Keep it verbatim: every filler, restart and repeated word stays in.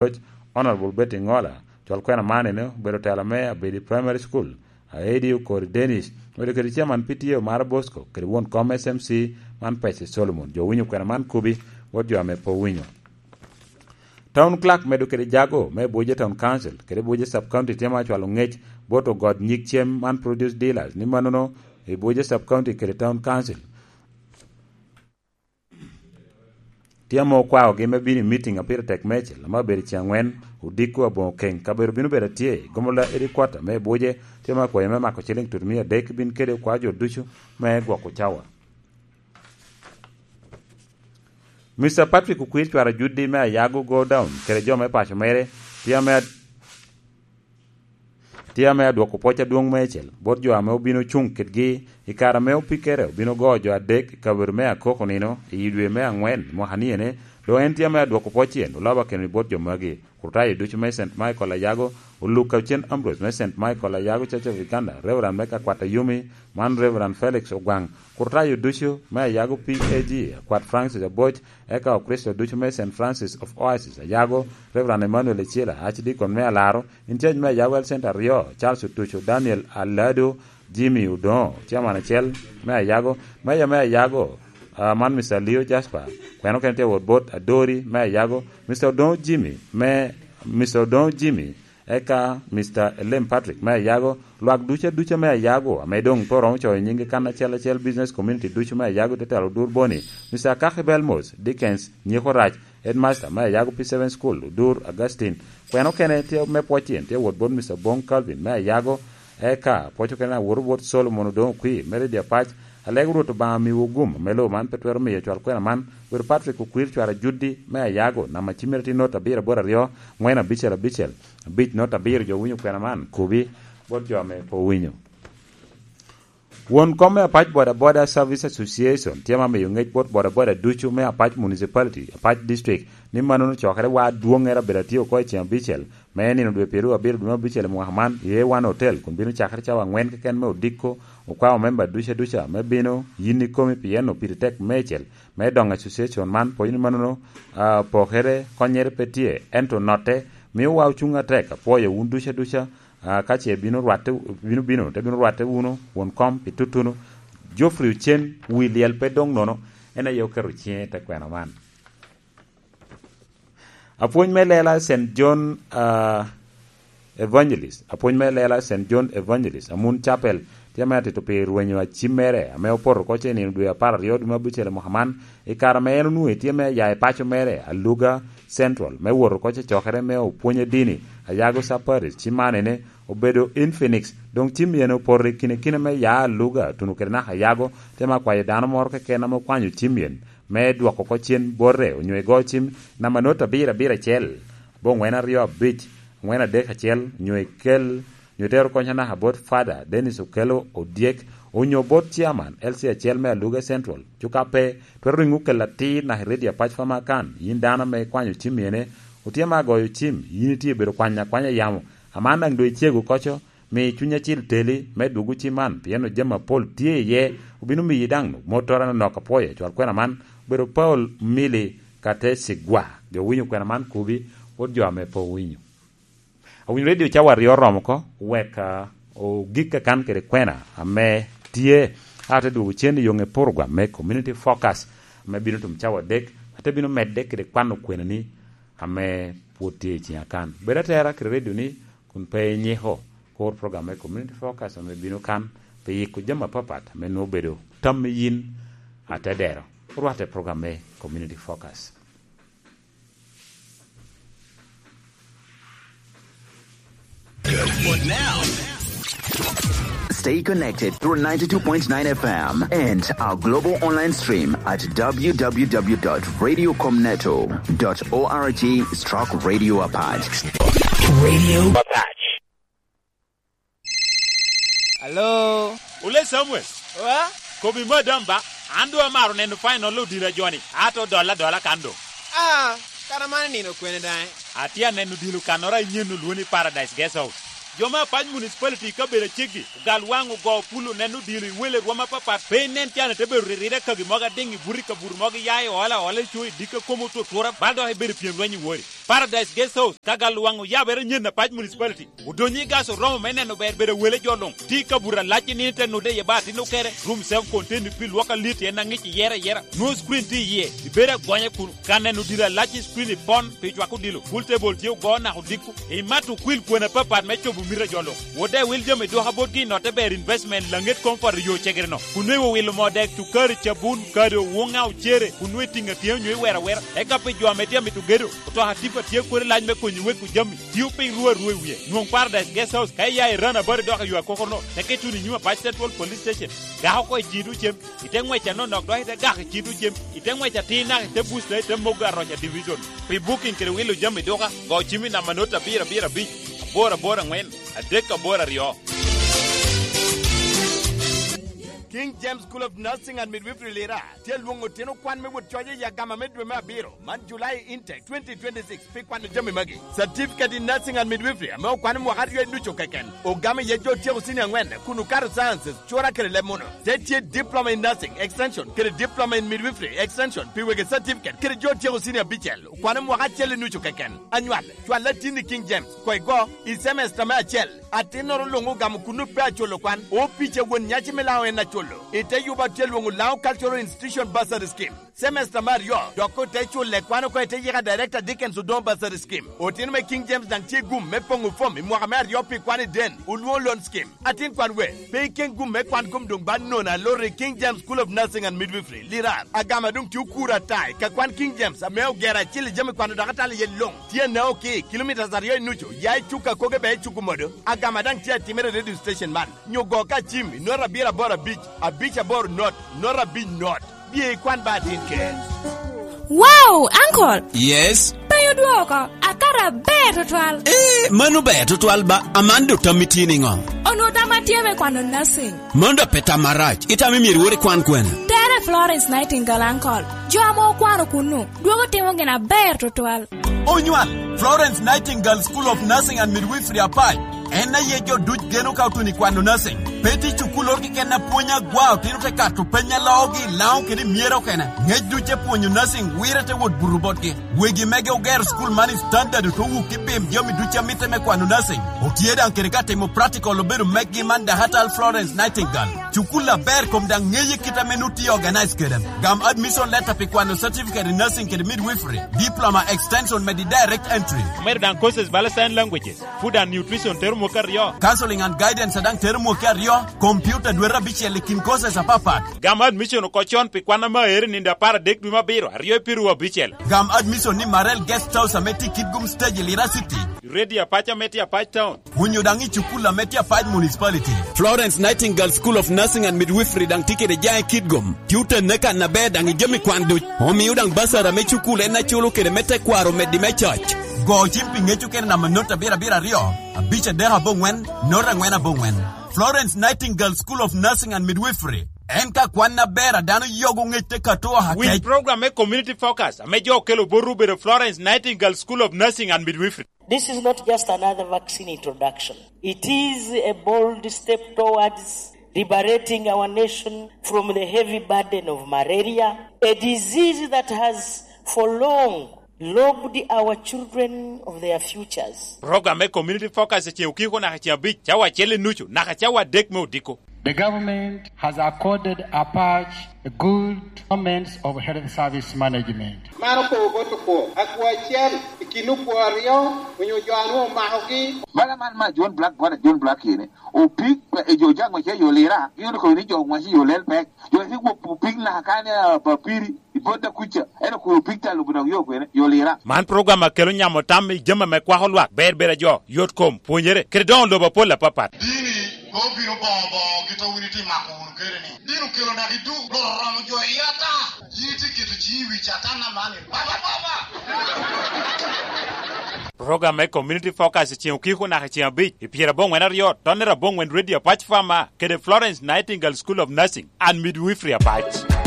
Roc, Honorable Betty Ngola, cwal kwena man ene obedo tela me Abedi Primary School, Aedi Okori Dennis, obedo kede chairman P T A Omara Bosco, kede won kom S M C man Pece Solomon. Jo owinyo kwena man kubi, bot jo ame pe owinyo. Town Clerk medo kede jago me Abuja Town Council, kede Abuja Sub County tye ma cwalo ngec bot ogot nyig cem man produce dealers, ni mannono i Abuja Sub County kede Town Council. Tye ame okwaogi me bino i meeting a pire tek meicel, ame obedo i ceng angwen, odiko aboŋo keny, kabedo bino bedo atye i Gomola Headquarter me Abuja, tye ame okwayo me mako ciling tutumia adek, bin kede okwa jo ducu me gwoko cawa. Mister Patrick Okwir cwara Juddi me Ayago Go Down, kede jo me paco mere, tye ame, tye ame adwoko pwoc adwoŋ meicel, bot jo ame obino cuŋ kedgi i kare ame opikere obino go jo adek i kabedo me Akoko nino i dwe me angwen mwaka ni ene, doŋ en tye ame adwoko pwoc en oloba keno i bot jo magi. Kurtayo ducu me Saint Michael Ayago, Oluk Kawcen Ambrose me Saint Michael Ayago Church of Uganda, Reverend me Kakwat Ayumi, man Reverend Felix Ogwaŋ, Kurtayo ducu me Ayago P A G, Akwat Francis Aboc, eka Okricito ducu me Saint Francis of Oasis Ayago, Reverend Emmanuel Ecila, Archdeacon me Alaro, in charge me Ayago Health Center aryo, Charles Otuco, Daniel Alado, Jimmy Odoŋo, Chairman acel me Ayago, Meya me Ayago, ah, man Mister Leo Jasper, kweno kene tye wot bot Adori me Ayago, Mister Odoŋo Jimmy me, Mister Odoŋo Jimmy, eka Mister Elem Patrick me Ayago, lwak ducu aduca me Ayago, ame doŋ pe oromo coyo nyinggi kan acel acel, business community ducu me Ayago, te telo Odur Boni, Mister Akaki Belmos, Dickens, Nyeko Rac, Headmaster me Ayago P seven School, Odur Augustine, kweno kene tye me pwoc tyen, tye wot bot Mister Bong Calvin me Ayago, eka pwoc okene awoto bot Solomon Odoŋo Okwir me Redio Apac, alego Rwot Obaŋa miwu gum, me lobo man pe twero miyo cwal kwena man, Wero Patrick Okwir cwara Juddi me Ayago, namba cimmere tye not abiro aboro aryo, ŋwen abicel abicel, abic not abiro, jo winyo kwena man, kubi, bot jo ame pe owinyo. Won kom me Apac Boda Boda Service Association tye ma miyo ngec bot boda boda ducu me Apac Municipality, Apac District, ni mannono cokere wa adwoŋŋere abedo atye oko i ceng abicel me nino dwe pyeraryo abiro dwe me abicel i mwaka man i A one Hotel, kun bino cakere cawa aŋwen keken me odiko, okwao memba duca duca me bino yin ikomi pien opiri tek meicel me doŋ association man, pwony ni mannono, ah, pokere konnyere pe tye, ento notte mio wa ocuŋ atek. Apwoyo wun duca duca. Ah, ka ce bino rwatte, bino bino, te bino rwatte wunu won kom pi tutuno. Geoffrey Ocen, wi lyel pe doŋ nono, en aye oketo ciŋe i te kwena man. Apwony me lela Saint John, ah, Evangelist, apwony me lela Saint John Evangelist, Amun Chapel, tye ame atito pi rwenyo acim mere, ame opoto oko ce i nino dwe apar aryo dwe me abucel i mwaka man, i kare ame en onwoŋo tye me ya i paco mere, Aluga Central, me wot oko ce cokere me opwony adini, Ayago Sub Parish, ci man ene obedo in Phoenix, doŋ cim yen opoto i kine kine me ya Aluga, tuno kede naka Ayago, te ma kwayo dano moro keken ame okwanyo cim yen, me dwoko oko cen bote, onyo igo cim namba not abiro abiro acel, aboŋwen aryo abic, angwen adek acel, onyo ikel, onyo itero kony anaka bot Father Dennis Okello Odyek, onyo bot Chairman L C acel me Aluga Central, cuka pe, twero riŋo kela atir naka i Radio Apac Famakan, yin dano ame ikwanyo cim ene, otye ma agoyo cim, yin itye bedo kwanya akwanya yamo, aman daŋ doŋ icego koco, mi Cuny Acil teli me dwogo cim man, pien jami apol tye iye, obino miyi daŋ mottoro anonok. Apwoyo cwal kwena man, obedo Paul Mili Katesigwa. Jo owinyo kwena man kubi, wot jo ame pe owinyo. Awinyo redio cawa aryo oromo oko, wek, ah, ogik kakan kede kwena ame tye, ate dwogo cen i yoŋe program me Community Focus, ame bino tum cawa adek, ate bino medde kede kwano kwenani ame pwod tye i ciŋa kan. Bed atera kede redio ni, kun pe inyiko, kur program me Community Focus ame bino kan, pi yiko jami apapat ame nwoŋo obedo tammi yin atedero. Orwatte program me Community Focus. Stay connected through ninety-two point nine F M and our global online stream at w w w dot radio com neto dot org stroke radio apac. Radio Apac. Alo? Ole Samuel. Wa? Kobi madam ba, an doŋ amaro neno final odilo a joni, ato dolla adola kan doŋ. Ah, kara man nino kwene daŋ? Atye aneno odilo kannoro anyen olwoŋo ni Paradise Guest House. Jo me Apac Municipality i kabedo aceggi, ogal waŋ ogo pul oneno odilo i wele rwom apapat, pe inen can ite bedo riride kagi mogo adiŋ i buto i kabuto mogo iya i ola ola i co i dikka komo otutura, bal dok ibedo i pyem lweny i wori. Paradise Guest House, ka gal waŋ oyabere nyen Apac Municipality. Odonyo i gas oromo me neno ber bedo wele jo luŋ. Ti kabuto alac i nino te nude iye ba atin okere, rum seven container pi lwok alit en aŋic iyere ayera. Nwoŋo screen tye iye, ibedo agonya kuno. Ka neno odilo alac i screen ipon pi cwako odilo, pool table tye ogo naka odiko. Imato okwil kwena apapat me cobo mito a jo luŋ. Wot daŋ iwil jami dwoka botgi i notte ber investment laŋet Comfort i yo cegere-no. Kun nwoŋo iwilo moo dek, cukari, cabun, kado, wuŋa, ocere, kun nwoŋo itiŋo atiŋa onyo iwero awera. Eka pi jo ame tye amito gedo, otoka tipa tye kodi lac me konyo weko jami. Tio piny ru arua i wie. Nwoŋ Paradise Guest House ka iya i Rana Bari dok i yo akoko-no, teke ituno i nyim Apac Central Police Station. Gak oko i cito cem, ite ŋwec anonok dok ite gak i cito cem, ite ŋwec atir naka ite busta ite mogo aroca division. Pi booking kede wilo jami duka, go cim i namba not abiro abiro abic, aboro aboro aŋwen, adek aboro aryo. King James School of Nursing and Midwifery Lira tye lwoŋo otino kwan me wot coc i agama me dwe me abiro man, July intake twenty twenty-six, pi kwano jami magi: Certificate in Nursing and Midwifery ame okwano mwaka aryo i ducu keken, ogamo iye jo otyeko cinia aŋwen kun okato Sciences, cura kede leb muno. Te tye Diploma in Nursing Extension kede Diploma in Midwifery Extension pi wegi certificate kede jo otyeko cinia abicel, okwano mwaka acel i ducu keken. Anywal, cwal atin i King James, koŋ igo i semester me acel. Atinnoro luŋ ogamo kuno pe aculo kwan. Opic a won nyaci me Laŋo en aculo. Ite yuba tye lwoŋo Laŋo Cultural Institution Bursary Scheme. Semester me aryo, dok ote culo kwan oko ite yika Director Dickens Odongo Bursary Scheme. Otino me King James daŋ tye gum me poŋo fom i mwaka me aryo pi kwan i den, olwoŋo loan scheme. Atin kwan we, pe iken gum me kwan kom doŋ ba nono aloro i King James School of Nursing and Midwifery, Lirar. Agama doŋ tye okuro ata i ka kwan King James ame ogero acil i jami kwano dok atalo iye luŋ. Tye Naoki, kilomitas aryo i nucu, ya i Cuka koge bea i Cukumodo. Agama daŋ tye atimere i radio station man. Nyo go ka cim i not abiro aboro abic, abic aboro not, not abic not. Bye ikwan ba atin ker. Wow, uncle! Yes? Penyo dwoko, akato aber tutwal. Eh, mano ber tutwal ba, aman do tammi tye niŋo? Onwo tamma tye me kwano nursing. Mano da pe tam arac, itamo myero iwot ikwan kwene? Tere Florence Nightingale, uncle. Jo ame okwano kunnu, dwogo timo gin aber tutwal. Onywal, Florence Nightingale School of Nursing and Midwifery Apac. En aye jo duc geno ka otuno i kwano nursing. Pe tye cukul oro keken apwonya agwa, otino te kato peny a loogi i Laŋo kede i myero okene. Ŋec duc te pwonyo nursing, wire te wot buto botgi. Wegi mege ogero cukul man i standard, ote wuk i pim jami duc a mitte me kwano nursing. Otye daŋ kede ka timo practical obedo meggi man Dahatal Florence Nightingale. Cukul aber kom daŋ ŋeye kit ame nut tye organize kede. Gam admission letter pi kwano certificate in nursing kede midwifery, diploma extension me di direct entry. Omedo daŋ courses bala sign languages, food and nutrition tero mwaka aryo. Counseling and guidance a daŋ tero mwaka aryo, computer dwete abicel i kin courses apapat. Gam admission oko con pi kwan ame aero i nino apar adek dwe me abiro, aryo i piru abicel. Gam admission ni Marel Guest House ame tye i Kitgum Stage i Lira City. Radio Apac ame tye Apac Town. Onyo daŋ i cukul ame tye Apac Municipality. Florence Nightingale School of Nursing and Midwifery daŋ tye kede jaŋ i Kitgum. Tye otenne kan aber daŋ i jami kwan duc. Omio daŋ basara me cukul en aculo kede me tekwaro meddi me coc. Go cim pi ŋec okene namba not abiro abiro aryo, abic adek aboŋwen, not aŋwen aboŋwen. Florence Nightingale School of Nursing and Midwifery. En ka kwan aber a dano yogo ŋec te kato oha kec. Winy program me Community Focus ame jo okelo botwu obedo Florence Nightingale School of Nursing and Midwifery. This is not just another vaccine introduction. It is a bold step towards liberating our nation from the heavy burden of malaria, a disease that has for long robbed our children of their futures. Program me Community Focus i ceŋ okiko naka ceŋ abic, cawa acel i nucu naka cawa adek me odiko. The government has accorded Apac a good performance of health service management. Man okobo bot okwo, akwo acel i kin okwo aryo onyo jo a nwoŋo omakogi. Bala man ma John Black, bwana John Black kene, opik, e, jo jaŋ wace yo Lira, gin okobo ni jo wace yo Lel Pek. Jo wace gwok opik naka kan, a, Papiri, i bot da kuca, en okobo opik ta lubo dok yo kwene, yo Lira. Man program a kelo nyamo tam i jami ame kwako lwak, ber ber a jo, yot kom, pwonyere, kede doŋo lobo apol apapat. Dini, mom bino boŋo boŋo kit a wun itye mako wunu kede ni. Dini okelo naka i duk, loro romo jo i ata. Yin itye keto ciŋi i wi Catan aman, baba, baba! Program me Community Focus i ceŋ okiko naka i ceŋ abic, i pyerabongwen aryo, tonnere abongwen Radio Apac Farmer, kede Florence Nightingale School of Nursing and Midwifery Apac.